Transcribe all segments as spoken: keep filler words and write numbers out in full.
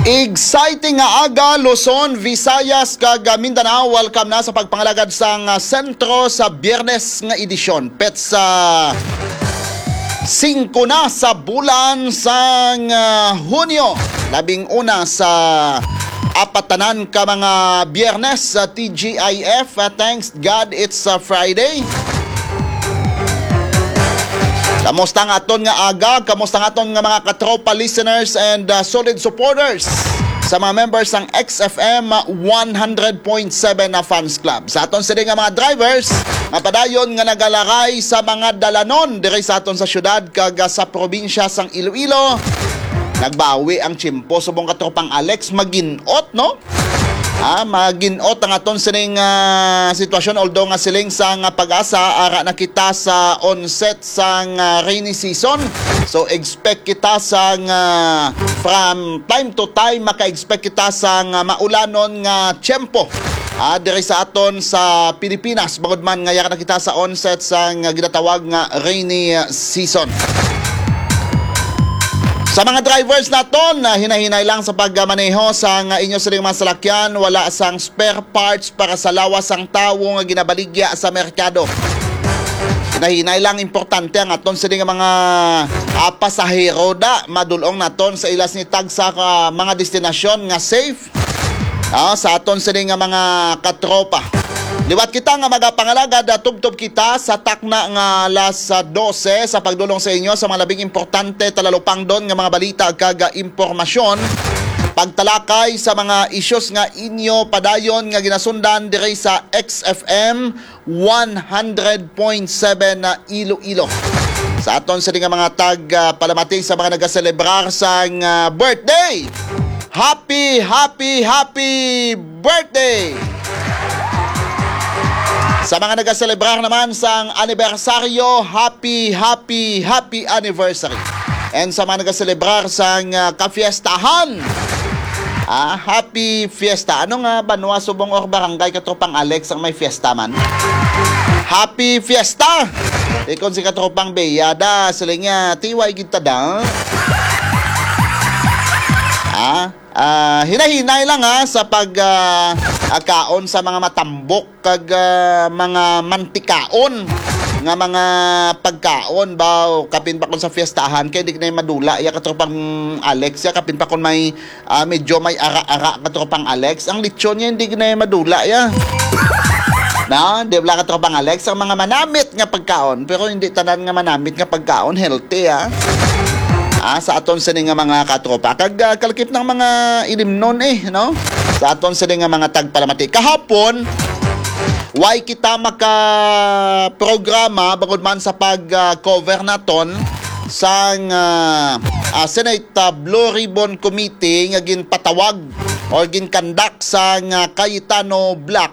Exciting nga aga, Luzon, Visayas, kag, ah, Mindanao. Welcome na sa pagpangalagad sang, ah, sentro sa Biyernes nga edisyon. Petsa singko na sa bulan sang, ah, Hunyo, labing una sa apat tanan ka mga Biyernes sa T G I F. Ah, thanks God, it's a Friday. Kamusta ang aton nga aga? Kamusta ang aton nga mga katropa listeners and, uh, solid supporters sa mga members sang X F M one hundred point seven na fans club? Sa aton sini nga mga drivers nga padayon nga nagalaray sa mga dalanon diri sa aton sa syudad kag, uh, sa probinsya sang Iloilo, nagbawi ang tiyempo subong katropang Alex, maginot, no? Ah, maginot ang aton sining, ah, sitwasyon, although nga siling sang, ah, PAGASA, ara na kita sa onset sang, ah, rainy season. So, expect kita sang, ah, from time to time, maka-expect kita sang, ah, maulanon nga tiyempo, ah, diri sa aton sa Pilipinas, bangod man nga yara na kita sa onset sang, ah, ginatawag nga rainy, ah, season. Sa mga drivers naton, ah, hinahinay lang sa pagmaneho sang inyo sining mga salakyan, wala sang spare parts para sa lawas sang tawo nga ginabaligya sa merkado. Hinahinay lang, importante ang aton sini nga mga, ah, pasahero da madul-ong naton sa ila sini tagsa ka mga destinasyon nga safe, ah, sa aton sini nga mga katropa. Liwat kita nga magapangalagad, ah, tubtob kita sa takna nga alas, ah, dose sa pagdulong sa inyo sa mga labing importante talalupangdon nga mga balita kag, ah, impormasyon. Pagtalakay sa mga issues nga inyo padayon nga ginasundan diri sa X F M one hundred point seven na Iloilo. Sa aton sini nga mga tag, ah, palamati sa mga nagaselebrar sang, ah, birthday. Happy, happy, happy birthday! Sa mga nagaselebrar naman sang anibersaryo, happy, happy, happy anniversary. And sa mga nagaselebrar sang, ah, kafiestahan, ah, happy fiesta. Ano nga banwa subong or barangay, katropang Alex, ang may fiesta man? Happy fiesta! Ikon si katropang Beyada, sila niya, tiway kita da. Ah, ah, hinay-hinay lang, ha, sa pag, ah, ah, kaon sa mga matambok kag, ah, mga mantikaon nga mga pagkaon ba, o kapin pa kon sa fiestahan kay di na madula ya katropang Alex ya, kapin pa kon may, ah, medyo may ara-ara katropang Alex, ang lechon niya hindi na madula ya. Na, di ba, katropang Alex, ang mga manamit nga pagkaon, pero hindi tanan nga manamit nga pagkaon healthy, ah. Ah, sa aton sini nga mga katropa kag, ah, kalakip ng mga ilimnon, eh, no? Sa aton sini nga mga tagpalamati. Kahapon, why kita maka programa bangod man sa pag, ah, cover naton sang, ah, ah, Senate, ah, Blue Ribbon Committee nga ginpatawag or ginkandak sang, ah, Cayetano Black,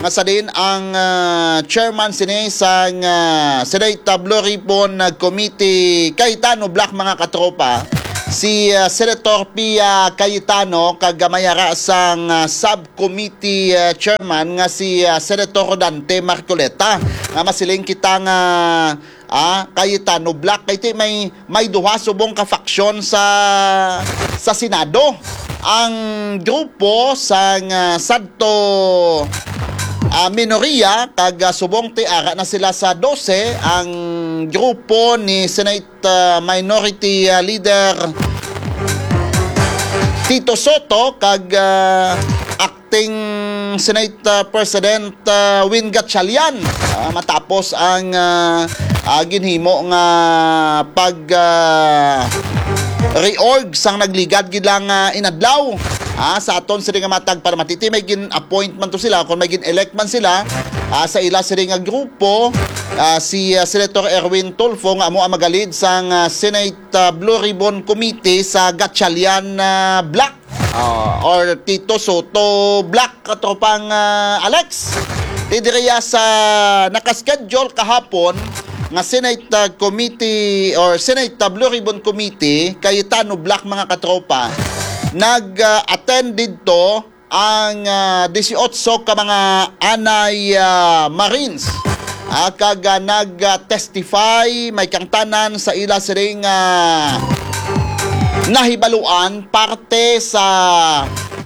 nga sa din ang, ah, chairman sini sang, ah, Senate Blue Ribbon, ah, Committee, Cayetano Black, mga katropa, si, ah, Senator Pia Cayetano, kag may ara sang, ah, subcommittee, ah, chairman nga si, ah, Senator Rodante Marcoleta, nga masiling kita nga, ah, Cayetano Black. Kay ti may, may duha subong ka faksyon sa, sa Senado. Ang grupo sang, ah, sadto, ah, minoriya, kag, ah, subong ti ara na sila sa dose, ang grupo ni Senate, ah, Minority, ah, Leader Tito Soto kag, ah, Acting Senate, ah, President, ah, Win Gatchalian, ah, matapos ang, ah, ah, ginhimo nga pag, ah, reorg sang nagligad gid lang, ah, inadlaw. Ah, sa aton sini nga matag para matiti may gin-appoint man to sila, kung may gin-elect man sila, ah, sa ila sini nga grupo, ah, si, ah, Senator Erwin Tulfo nga amo ang magalid sang, ah, Senate, ah, Blue Ribbon Committee sa Gatchalian, ah, Black. Ah, or Tito Soto Black, katropang, ah, Alex. Ti diriya sa nakaschedule kahapon nga Senate, ah, Committee or Senate, ah, Blue Ribbon Committee, Cayetano Black, mga katropa, nag, ah, attend didto ang, ah, disiotso ka mga anay, ah, Marines, ah, kag, ah, nag, ah, testify may kangtanan sa ila siring, ah, nahibaluan parte sa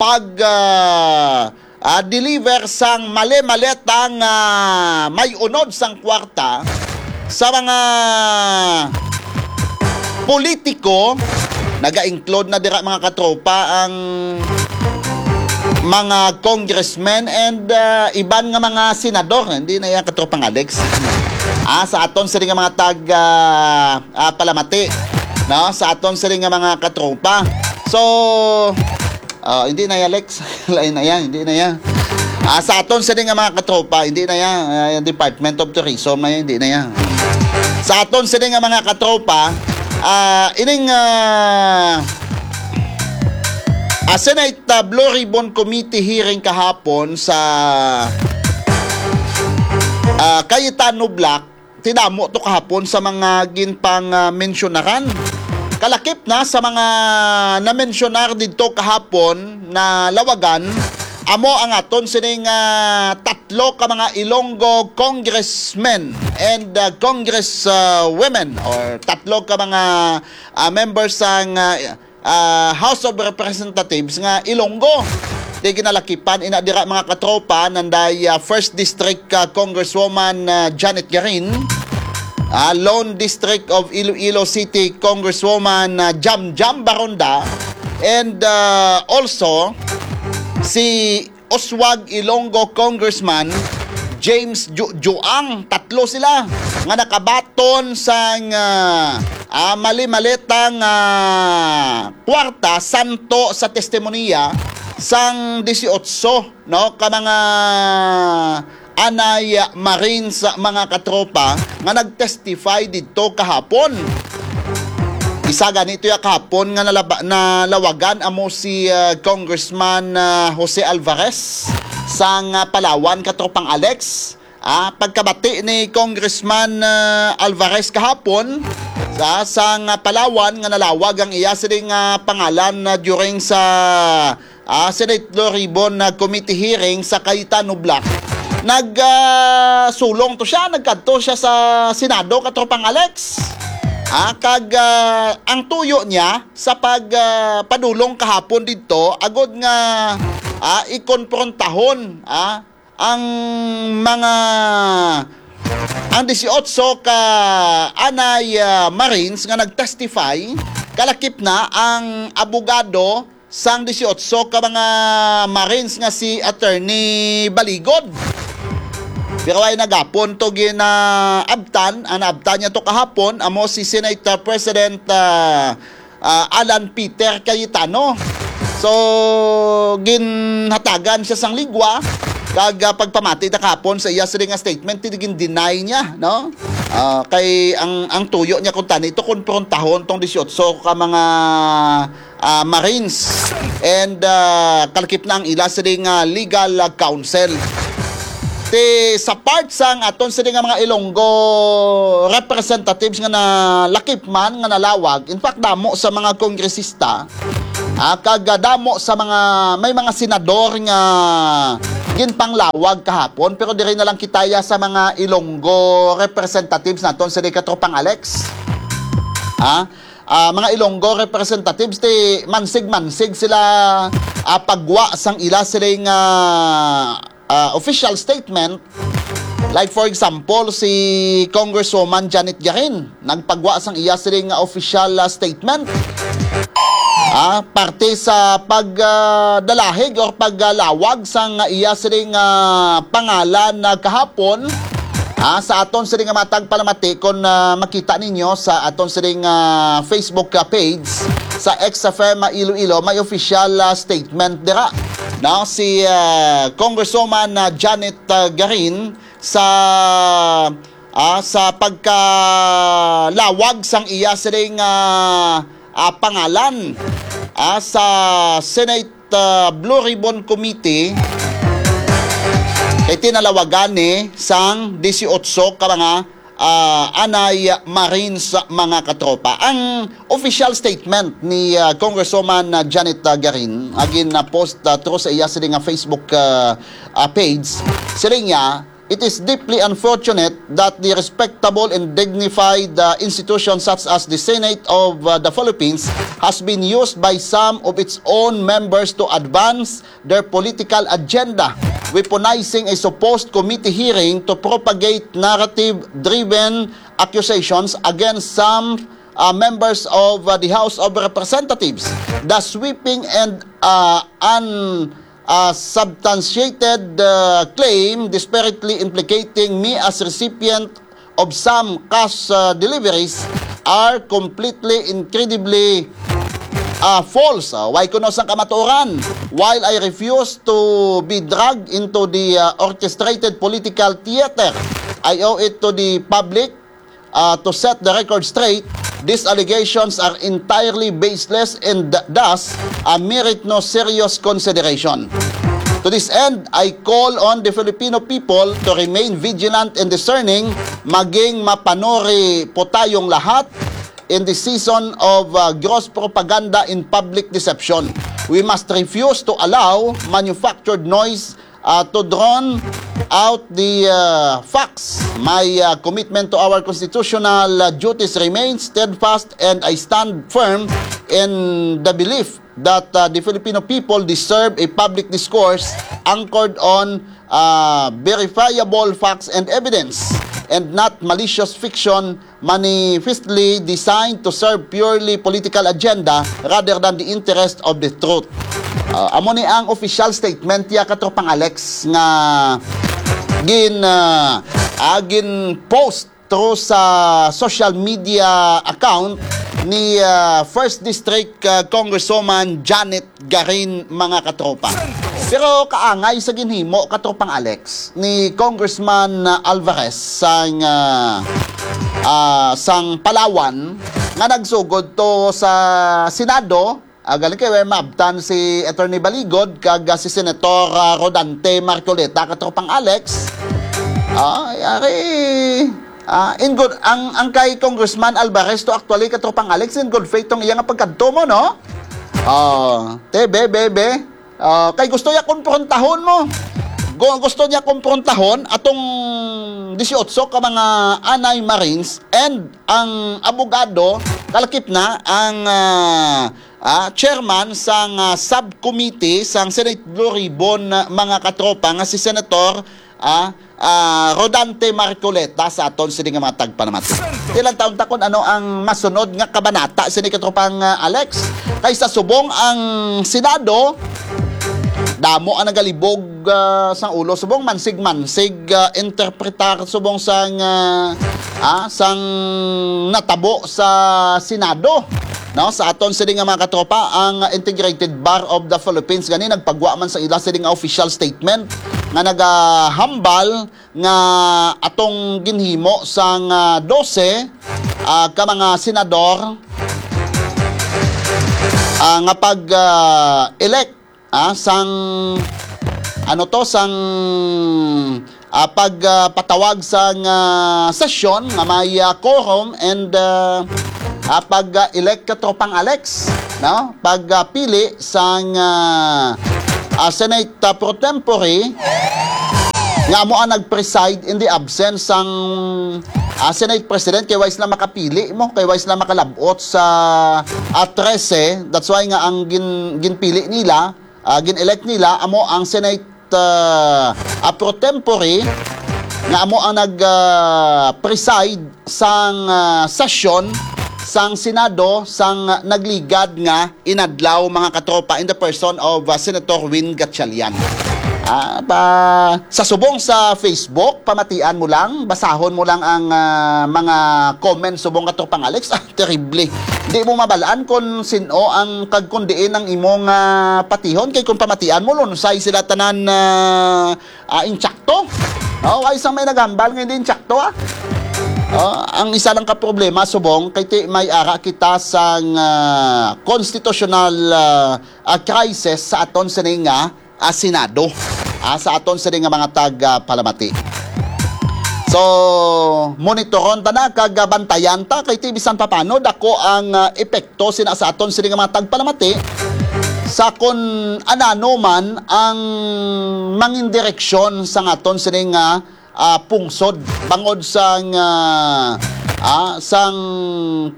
pag, ah, ah, deliver sang mali-maletang, ah, may unod sang kwarta sa mga politiko. Naga-include na dira, mga katropa, ang mga congressmen and, ah, iban nga mga senador. Hindi na yan, katropang Alex. Ah, sa aton sini nga mga tag, ah, ah, palamati, no? Sa aton sini nga mga katropa. So, ah, hindi na yan, Alex. Lain na yan, hindi na yan. Ah, sa aton sini nga mga katropa, hindi na yan. Ah, yung Department of Tourism na yan, hindi na yan. Sa aton sini nga mga katropa, ah, ining, ah, ah, Senate, ah, Blue Ribbon Committee hearing kahapon sa, ah, Cayetano Block, ti damo to kahapon sa mga ginpang, ah, mensyonaran. Kalakip na sa mga namensyonar didto kahapon na lawagan, amo ang aton sining, ah, tatlo ka mga Ilonggo congressmen and, ah, congress, ah, women, or tatlo ka mga, ah, members sang, ah, ah, House of Representatives nga Ilonggo. Di ginalakipan ina dira, mga katropa, nanday, ah, First District, ah, Congresswoman, ah, Janet Garin, ah, Lone District of Iloilo City Congresswoman, ah, Jam Jam Baronda, and, ah, also si Oswag Ilonggo Congressman James Ju-, Juang. Tatlo sila nga nakabaton sang, ah, ah, mali-maletang, ah, kwarta santo sa testimonya sang disiotso, no, ka mga anay, ah, Marines, ah, mga katropa, nga nag-testify didto kahapon. Isa gani to ya kahapon nga nalaba-, nalawagan amo si, ah, Congressman, ah, Jose Alvarez sang, ah, Palawan, katropang Alex. Ah, pagkabati ni Congressman, ah, Alvarez kahapon sa, sang, ah, Palawan nga nalawag ang iya sining, ah, pangalan na during sa, ah, Senate Blue Ribbon na committee hearing sa Cayetano Block. Nag, ah, sulong to siya, nagkadto siya sa Senado, katropang Alex. Ah, kag, ah, ang tuyo niya sa pag, ah, padulong kahapon didto, agod nga, ah, ikonprontahon, ah, ang mga, ang disiotso ka anay, ah, Marines nga nag-testify, kalakip na ang abogado sang disiotso ka mga Marines nga si Attorney Baligod. Pero ay nagapon to ginaabtan, ang naabtan niya to kahapon, amo si Senate President, ah, ah, Alan Peter Cayetano. So, ginhatagan siya sang ligwa, kag, ah, pagpamati na kahapon sa iya sini nga statement, gin-deny niya, no? Ah, kay ang, ang tuyo niya kuntani, ito, konprontahon tong disiotso ka mga, ah, Marines. And, ah, kalakip na ang ila sini nga legal, ah, counsel. Ti sa part sang aton sini nga mga Ilonggo representatives nga nalakip man, nga nalawag, in fact, damo sa mga kongresista, ah, kag, ah, damo sa mga, may mga senador nga ginpanglawag kahapon, pero diri na lang kita ya sa mga Ilonggo representatives naton, sini, katropang Alex. Ha? Ah, mga Ilonggo representatives, ti mansig-mansig sila, ah, pagwa sang ila sini nga, ah, official statement. Like, for example, si Congresswoman Janet Garin, nagpagwa sang iya sini nga official, ah, statement, ah, parte sa pag, ah, dalahig or paglalawag sang iya sini nga pangalan na kahapon, ah, sa aton sini nga matag palamati, kon, ah, makita ninyo sa aton sini nga Facebook, ah, page, sa X F M Iloilo, may official, ah, statement dira, no? Si, ah, Congresswoman, ah, Janet, ah, Garin sa, ah, sa pagkalawag sang iya sining, ah, ah, pangalan, ah, sa Senate, ah, Blue Ribbon Committee, kay tinalawagan ni sang disiotso ka mga, ah, anay Marines, mga katropa. Ang official statement ni, ah, Congresswoman, ah, Janet, ah, Garin, nga gin-post, ah, through sa iya sini nga Facebook, ah, ah, page, siling niya, It is deeply unfortunate that the respectable and dignified uh, institution such as the Senate of uh, the Philippines has been used by some of its own members to advance their political agenda, weaponizing a supposed committee hearing to propagate narrative-driven accusations against some uh, members of uh, the House of Representatives. The sweeping and uh, un uh, substantiated uh, claim disparately implicating me as recipient of some cash uh, deliveries are completely, incredibly uh, false. Uh, why kuno sang kamatuoran? While I refuse to be dragged into the uh, orchestrated political theater, I owe it to the public uh, to set the record straight, these allegations are entirely baseless and thus uh, merit no serious consideration. To this end, I call on the Filipino people to remain vigilant and discerning, maging mapanuri po tayong lahat in the season of uh, gross propaganda and public deception. We must refuse to allow manufactured noise uh, to drown out the uh, facts. My uh, commitment to our constitutional uh, duties remains steadfast, and I stand firm in the belief that uh, the Filipino people deserve a public discourse anchored on uh, verifiable facts and evidence, and not malicious fiction manifestly designed to serve purely political agenda rather than the interest of the truth. Uh, amo ni ang official statement ya, Katropang Alex, nga gin uh, uh, gin post through sa social media account ni uh, First District uh, Congresswoman Janet Garin, mga katropa. Pero kaangay sa ginhimo, Katropang Alex, ni Congressman uh, Alvarez sang uh, uh, sang Palawan nga nagsugod to sa Senado, uh, galing kay maabtan si Attorney Baligod kag uh, si Senator uh, Rodante Marcoleta, Katropang Alex. Ay, ari. Ah, in good, ang ang kay Congressman Alvarez to actually, Katropang Alex, in good faith tong iya nga pagkadto mo, no? Oh, te, be, be, be. Ah, kay gusto niya komprontahon mo. Gu- gusto niya komprontahon atong dieciocho ka mga anay Marines and ang abogado, kalakip na ang ah, ah, chairman sang ah, subcommittee sang Senate Blue Ribbon, ah, mga katropa, nga si Senator ah, ah, Rodante Marcoleta sa aton sini nga mga tagpanamati. Ilang taon ta kung ano ang masunod nga kabanata sini, katropang ah, Alex? Kay sa subong ang Senado, damo ang nagalibog ah, sang ulo. Subong mansig-mansig ah, interpretar subong sang ah, ah, sang natabo sa Senado. No, sa aton sini nga mga katropa, ang Integrated Bar of the Philippines gani nagpagwa man sa ila sini nga official statement nga nagahambal nga atong ginhimo sang ah, dose ah, ka mga senador ah, nga pag ah, elect ah, sang ano to, sang ah, pag ah, patawag sang ah, sesyon nga may ah, quorum and ah, ah, pag ah, elect, katropang Alex, no? Pag ah, pili sang ah, ah, Senate ah, pro tempore nga amo ang nag-preside in the absence sang ah, Senate President, kay wala sila makapili mo, kay wala sila makalabot sa ah, trese. That's why nga ang gin, ginpili nila, ah, gin-elect nila amo ang Senate ah, ah, pro tempore nga amo ang nag ah, preside sang ah, sesyon sang Senado sang nagligad nga inadlaw, mga katropa, in the person of ah, Senator Win Gatchalian. Ah, pa, sa subong sa Facebook, pamatian mo lang, basahon mo lang ang ah, mga comments subong, katropang Alex. Ah, terrible. Di mo mabalaan kung sino ang kag kung diin ang imong ah, patihon, kay kung pamatian mo, lunsay sila tanan ah, ah, intsakto. Oh, ay isang may naghambal nga hindi intsakto, ah. Oh, ang isa lang ka problema, subong, kay ti may ara kita sang ah, constitutional ah, ah, crisis sa aton sini nga ah, Senado, ah, sa aton sini nga mga tag ah, palamati. So, monitoron ta na kag ah, bantayan ta kay ti bisan papano dako ang ah, epekto sina sa aton sini nga mga tagpalamati sa kun anano man ang mangin direksyon sa aton sini nga ah, pungsod bangod sang, ah, ah, sang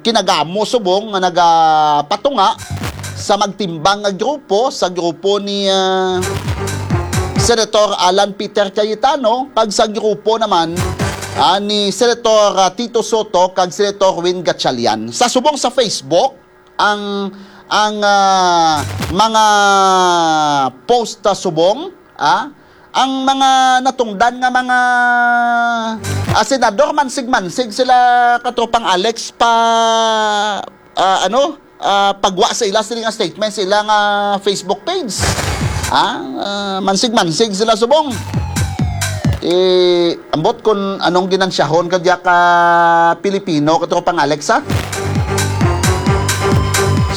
kinagamo subong nga nagapatunga sa magtimbang nga grupo, sa grupo ni, ah, Senator Alan Peter Cayetano kag sa grupo naman, ah, ni Senator, ah, Tito Soto kag Senator Win Gatchalian. Sa subong sa Facebook, ang, ang, ah, mga post, ah, subong, ah, ang mga natungdan nga mga, ah, senador, mansig-mansig sila, Katropang Alex, pa, ah, ano, ah, pagwa sa ila sila nga statement sa ila nga Facebook page. Ah, ah, mansig-mansig sila subong. Eh, ambot kung anong ginansyahon ka diya ka Pilipino, Katropang Alex, ha?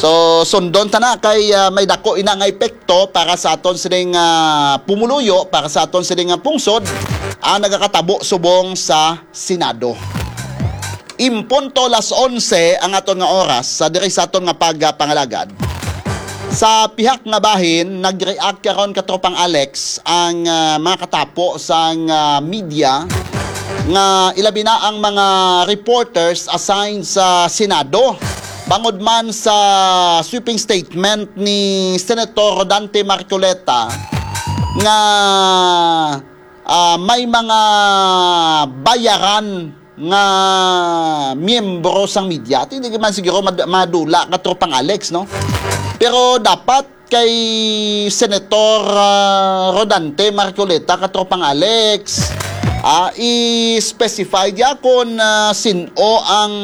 So, sundon ta na kay, ah, may dako ina nga epekto para sa aton sining, ah, pumuluyo, para sa aton sining, ah, pungsod, ang nagakatabo subong sa Senado. Impunto las onse ang aton nga oras sa diri sa aton nga pagpangalagad. Sa pihak nga bahin, nag-react karon, Katropang Alex, ang, ah, mga katapo sang, ah, media nga ilabi na ang mga reporters assigned sa Senado bangod man sa sweeping statement ni Senator Rodante Marcoleta nga, ah, may mga bayaran nga miyembro sang media. Ti, hindi man siguro mad-, madula, Katropang Alex, no? Pero dapat kay Senator, ah, Rodante Marcoleta, Katropang Alex, ah, i-specify diya kung, ah, sin-o ang,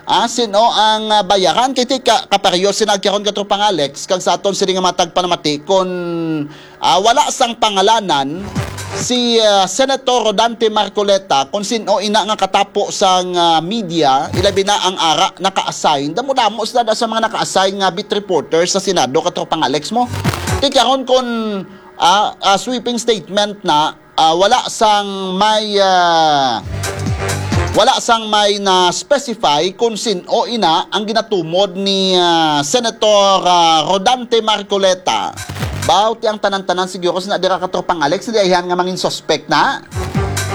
ah, sin-o ang, ah, bayaran. Kay ti ka, kapareho sina karon, Katropang Alex, kag sa aton sini nga matag panamati kung, ah, wala sang pangalanan si, ah, Senator Rodante Marcoleta, kung sin-o ina nga katapo sang, ah, media, ilabi na ang ara naka-assign. Damo-damo sila da sa mga naka-assign nga beat reporter sa Senado, Katropang Alex, mo. Ti karon kung, ah, ah, sweeping statement na, ah, wala sang may, ah, wala sang may na-specify kung sin-o ina ang ginatumod ni, ah, Senator, ah, Rodante Marcoleta. Baw, ti ang tanan-tanan siguro sina dira, Katropang Alex, di ayhan nga mangin suspect na.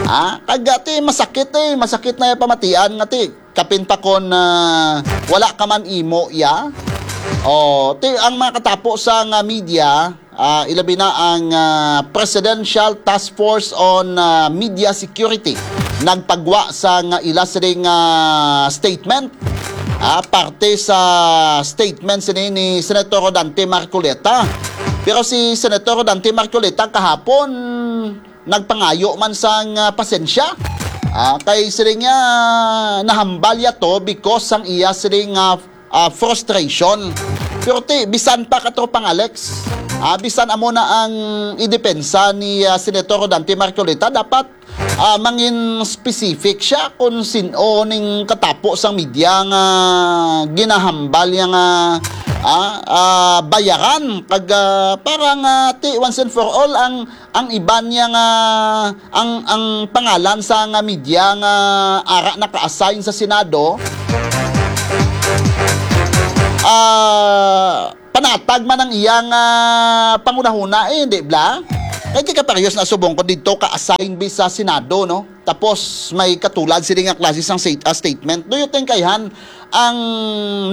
Ah, kag, ah, ti masakit, eh, masakit na yung pamatian nga ti kapin pa kon, ah, wala ka man imo ya. Oh, ti ang mga katapo sa nga media, ah, ilabi na ang, ah, Presidential Task Force on, ah, Media Security nagpagwa sa nga ila sining, ah, statement, ah, parte sa statement sini ni Senator Rodante Marcoleta. Pero si Senator Rodante Marcoleta kahapon nagpangayo man sang, ah, pasensya. Ah, kay siling niya, nahambal ya to because sang iya siling, ah, ah, frustration. Pero ti, bisan pa, Katropang Alex, ah, bisan amo na ang idepensa ni, ah, Senator Rodante Marcoleta, dapat, ah, mangin specific siya kung sin-o ning katapo sang media nga ginahambal niya nga, ah, ah, bayaran kag, ah, para nga ti once and for all ang, ang iban niya nga, ang, ang pangalan sa nga media nga ara naka-assign sa Senado, ah, panatag man ang iyang, ah, panghunahuna, eh, di bla? Kay ti kaparehas na subong ko didto ka-assign bi sa Senado, no? Tapos may katulad sini nga klase sang state, ah, statement. Do you think, ayhan, ang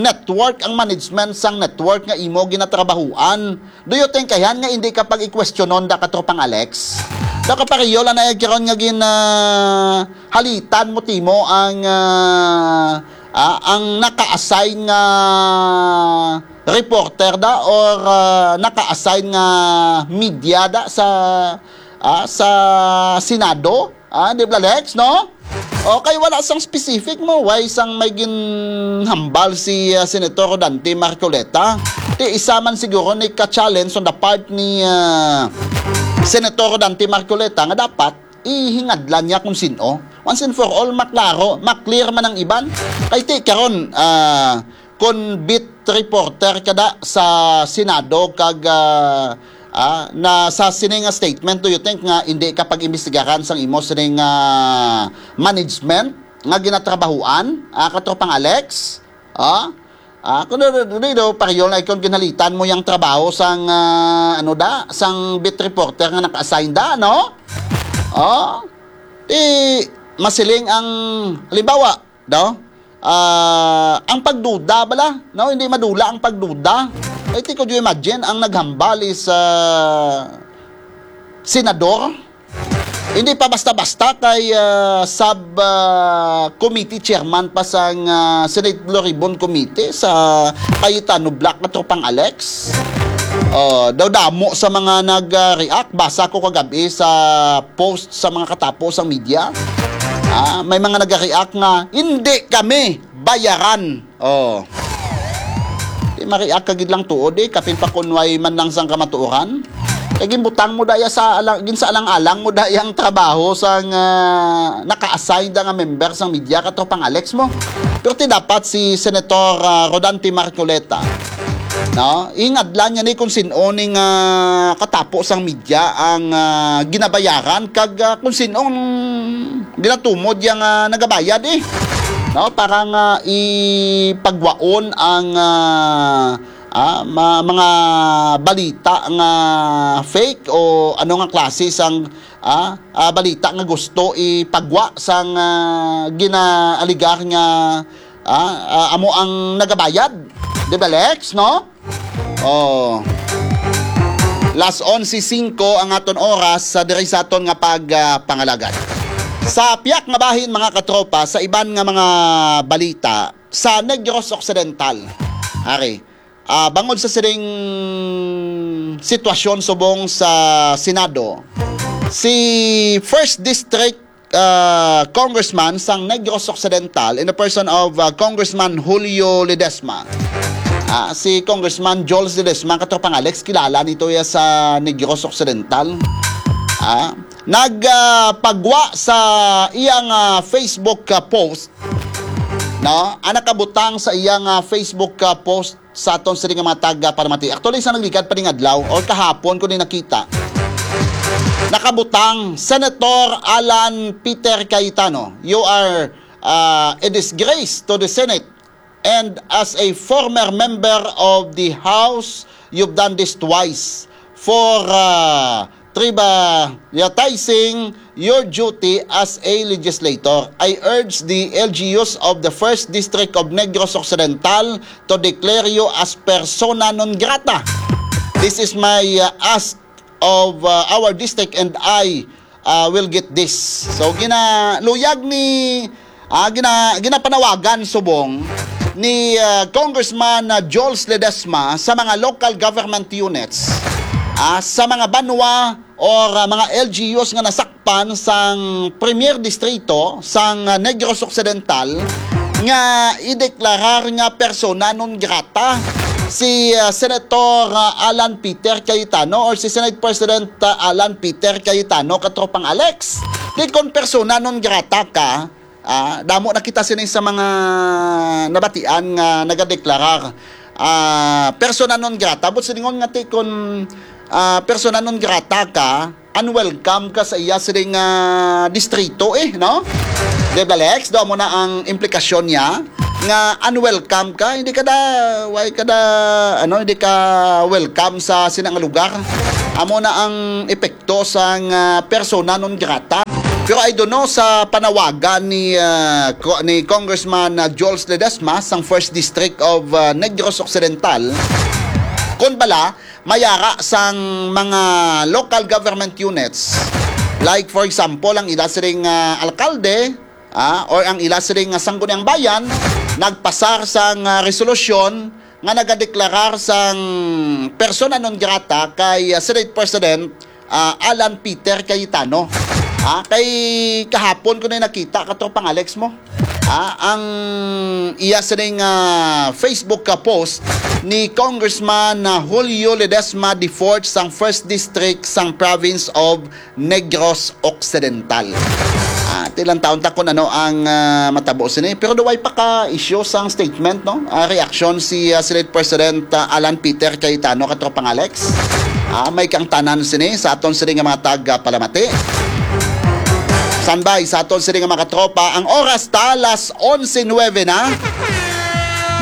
network, ang management sang network nga imo ginatrabahuan, do you think, ayhan, nga hindi ka pag-ikwestiyonon da, Katropang Alex? Nakapareho lang na karon nga gin, ah, halitan mo timo ang, ah, ah, ang naka-assign nga reporter da or, ah, naka-assign nga media da sa, ah, sa Senado? Ah, di ba, Lex, no? Okay, wala sang specific mo. Why sang may ginhambal si, ah, Senator Dante Marcoleta? Ti isa man siguro ni ka-challenge on the part ni, ah, Senator Dante Marcoleta nga dapat ihingadlan niya kung sin-o. Once and for all, maklaro, maklear man ang iban. Kay ti karon, ah, kon beat reporter ka da sa Senado kag, ah, ah, na sa sini nga statement, do you think nga hindi ka pag-imbestigaran sang imo sining, ah, management nga ginatrabahuan, ah, Katropang Alex? Ah? Ah, kuno, do, do, do, pareho na ikon ginhalitan mo yang trabaho sang, ah, ano da, sang beat reporter nga naka-assign da, no? Oh? Di masiling ang, halimbawa, no? Ah, ang pagduda bala, no? Hindi madula ang pagduda. Kay ti, could you imagine, ang naghambal is, ah, senador? Hindi pa basta-basta kay, ah, sub, ah, committee chairman pa sang, ah, Senate Blue Ribbon Committee sa Cayetano Block nga Tropang Alex. Oh, daw damo sa mga nag-react. Basa ko kagabi sa post sa mga katapo sang media. Ah, may mga nag-react nga, "Hindi kami bayaran." Oh. Di ma-react ka gid lang tuod, eh, kapin pa kun way man lang sang kamatuoran. Kay ginbutang mo daya sa alang, ginsaalang-alang mo daya ang trabaho sang, ah, naka-assign da nga member sang media, ka Tropang Alex mo. Pero ti dapat si Senator, ah, Rodante Marcoleta, no? Ingadlan niya ni kung sin-o ni nga katapo sang media ang, ah, ginabayaran kag, ah, kung sin-o ang ginatumod yang, ah, nagabayad, eh. No? Para nga ipagwaon ang, ah, ah, ma-, mga balita nga fake o ano nga klase sang, ah, ah, balita nga gusto ipagwa sang, ah, ginaaligar nga, ah, ah, amo ang nagabayad. Di ba, Lex, no? Oh. Las onse singko ang aton oras sa diri sa aton nga pag, ah, pangalagad. Sa piyak nga bahin, mga katropa, sa iban nga mga balita, sa Negros Occidental, ari, ah, bangod sa sining sitwasyon subong sa Senado, si First District, ah, Congressman sang Negros Occidental in the person of, ah, Congressman Julio Ledesma. Ah, si Congressman Jules Ledesma, katropang Alex, kilala nito ya sa Negros Occidental. Ah, nag, ah, pagwa sa iyang, ah, Facebook, ah, post, no? Ang nakabutang sa iyang, ah, Facebook, ah, post sa aton sini nga mga taga-palamati. Actually, sa nagligad pa ning adlaw or kahapon ko ni nakita, nakabutang, "Senator Alan Peter Cayetano, you are, uh, a disgrace to the Senate. And as a former member of the House, you've done this twice for, uh, trivializing your duty as a legislator. I urge the L G Us of the First District of Negros Occidental to declare you as persona non grata. This is my, uh, ask of, uh, our district, and I, uh, will get this." So, gina-, luyag ni, ah, gina-, ginapanawagan subong ni, uh, Congressman, uh, Jules Ledesma sa mga local government units, ah, sa mga banwa or, ah, mga L G Us nga nasakpan sang Premier Distrito sang, ah, Negros Occidental nga ideklarar nga persona non grata si, ah, Senator, ah, Alan Peter Cayetano or si Senate President, ah, Alan Peter Cayetano, katropang Alex. Di kon persona non grata ka, ah, damo na kita sini sa mga nabatian nga nagadeklarar, ah, persona non grata. But silingon nga ti kon, ah, persona non grata ka, unwelcome ka sa iya sining, ah, distrito, eh, no? Di ba, Lex? Do mo na ang implikasyon niya nga unwelcome ka, hindi ka da, why ka da, ano, hindi ka welcome sa sina nga lugar. Amo na ang epekto sang, ah, persona non grata. Pero I don't know sa panawagan ni, ah, ko-, ni Congressman, ah, Jules Ledesma sang First District of, ah, Negros Occidental, kon bala mayara sang mga local government units, like, for example, ang ila siring nga alkalde, ah, or ang ila siring nga sangguniang bayan, nagpasar sang, ah, resolusyon nga nagadeklarar sang persona non grata kay, ah, Senate President, ah, Alan Peter Cayetano. Ah, kay kahapon ko na nakita, katropang Alex mo. Ah, ang iya sining, ah, Facebook, ah, post ni Congressman, ah, Julio Ledesma the fourth sang First District sang Province of Negros Occidental. Ah, tilang taon ta kung ano ang, ah, matabo sini. Pero duway pa ka issue sang statement, no? Ah, reaksyon si, ah, Senate President, ah, Alan Peter Cayetano, katropang Alex. Ah, may kang tanan sini sa aton sini nga mga taga-palamati. Standby sa aton sini nga mga katropa. Ang oras ta, alas onse nuebe na.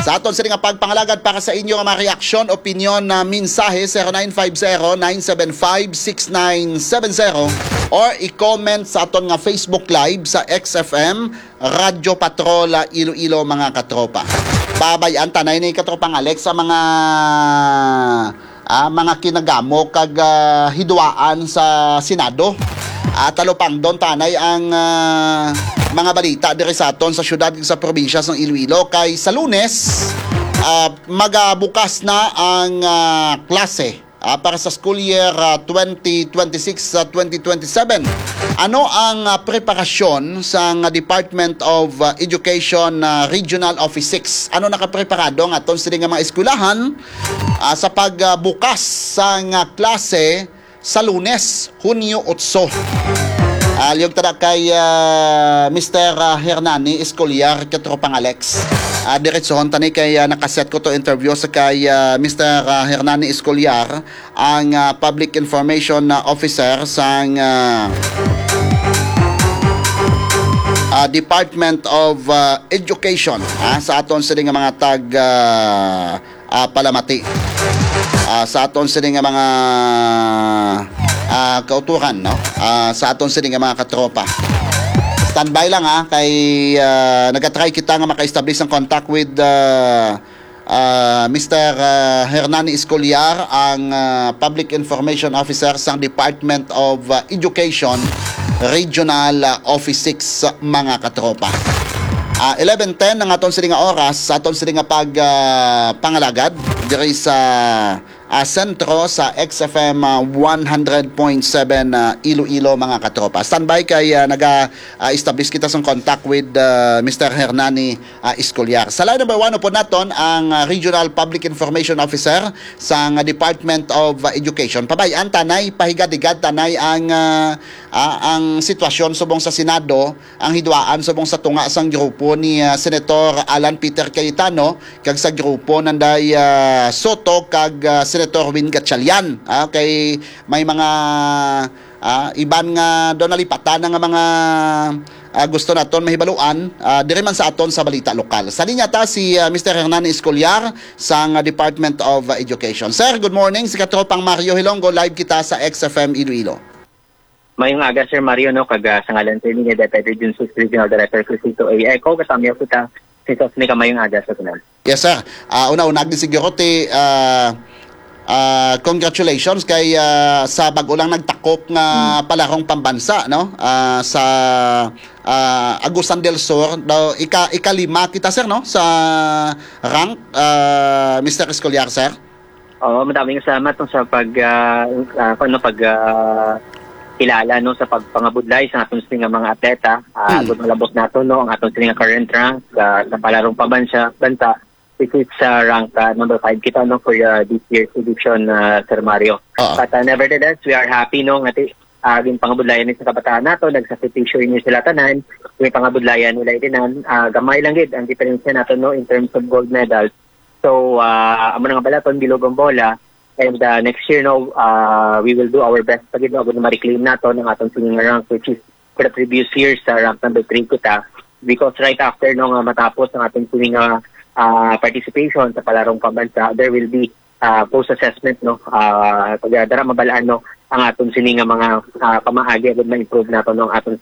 Sa aton sini nga pagpangalagad para sa inyo nga mga reaksyon, opinyon, na mensahe, zero nine five zero, nine seven five, six nine seven zero, or i-comment sa aton nga Facebook Live sa X F M, Radyo Patrol, ah, Iloilo, mga katropa. Pabay-an ta na ini, katropang Alex, sa mga, ah, mga kinagamo kag, ah, hidwaan sa Senado. Ah, talupangdon ta anay ang, ah, mga balita diri sa aton sa syudad kag sa probinsya sang Iloilo, kay sa Lunes, ah, magabukas na ang, ah, klase, ah, para sa school year, ah, twenty twenty-six sa twenty twenty-seven. Ano ang, ah, preparasyon sang Department of, ah, Education, ah, Regional Office six? Ano nakapreparado ang aton sini nga mga eskwelahan, ah, sa pagbukas sang, ah, klase sa Lunes, Hunyo otso? Ah, liyog ta na kay, ah, Mister, ah, Hernani Escolar, katropang Alex. Ah, diretsohon ta ni kay, ah, nakaset ko to interview sa kay, ah, Mister, ah, Hernani Escolar, ang, ah, Public Information, ah, Officer sang, ah, ah, Department of, ah, Education, ah, sa aton sini nga mga tag, ah, ah, palamati, ah, sa aton sini nga mga, ah, kauturan, no? Ah, sa aton sini nga mga katropa. Standby lang, ha, kay, ah, nagatry kita nga maka-establish ang contact with, ah, ah, Mister, ah, Hernani Escolar, ang, ah, Public Information Officer sang Department of, ah, Education, Regional, ah, Office six, mga katropa. Ah, eleven ten ang aton sini nga oras, sa aton sini nga pag, ah, pangalagad diri sa, ah, sentro sa X F M, ah, one hundred point seven, ah, Iloilo, mga katropa. Standby kay, ah, naga, ah, establish kita sang contact with, ah, Mister Hernani, ah, Escolar. Sa line number one, upod naton ang, ah, Regional Public Information Officer sang, ah, Department of, ah, Education. Pabay-an ta nay, pahigad-higad ta nay ang, ah, ah, ang sitwasyon subong sa Senado, ang hidwaan subong sa tunga sang grupo ni, ah, Senator Alan Peter Cayetano kag sa grupo nanday, ah, Soto kag, ah, Senator Win Gatchalian. Ah, kay may mga, ah, iban nga daw nalipatan na nga mga, ah, gusto naton mahibaluan, ah, diri man sa aton sa balita lokal. Sa linya ta si, ah, Mister Hernani Escolar sang, ah, Department of, ah, Education. Sir, good morning. Si Katropang Mario Hilonggo, live kita sa X F M Iloilo. Mayong aga, Sir Mario, no, kag, ah, sa ngalan, Sir, ni Deputy Region six Regional Director Crisito A. Eco, kasamyaw kita. Sis, ni ka mayong aga sa tanan. Yes, sir. Ah, una-una gid siguro ti, ah, ah, congratulations kay, ah, sa bag-o lang nagtakop nga Hmm. palarong pambansa, no? Ah, sa, ah, Agusan del Sur, daw ika-, ikalima kita, sir, no? Sa rank, ah, Mister Escolar, sir. Oo, madaming salamat, no, sa pag, ah, ah, ano, pag, ah, kilala, no, sa pagpangabudlay sa aton sini nga mga atleta. Ah, Hmm. Agud malabot nato, no, ang aton sini nga current rank, ah, sa palarong pambansa, bansa, which is, ah, rank, ah, number five kita, no, for, ah, this year's edition, ah, Sir Mario. Oo. But, ah, nevertheless, we are happy, no, nga ti-, ah, ginpangabudlayan ni sa kabataan nato, nagsakripisyo ini sila tanan, ginpangabudlayan nila itinan, ah, gamay lang gid ang diferensya nato, no, in terms of gold medals. So, ah, amo na nga balaton, bilog ang bola. And, ah, next year, no, ah, we will do our best pa gid, no, agud ma-reclaim nato ang aton sini nga rank, which is for the previous year sa rank number three kita. Because right after, no, nga matapos ang aton sini nga, ah, participation sa palarong pambansa, there will be, ah, post-assessment, no, ah, pag dara mabal-an, no, ang aton sini nga mga, ah, pamaagi agud ma-improve nato, no, ang aton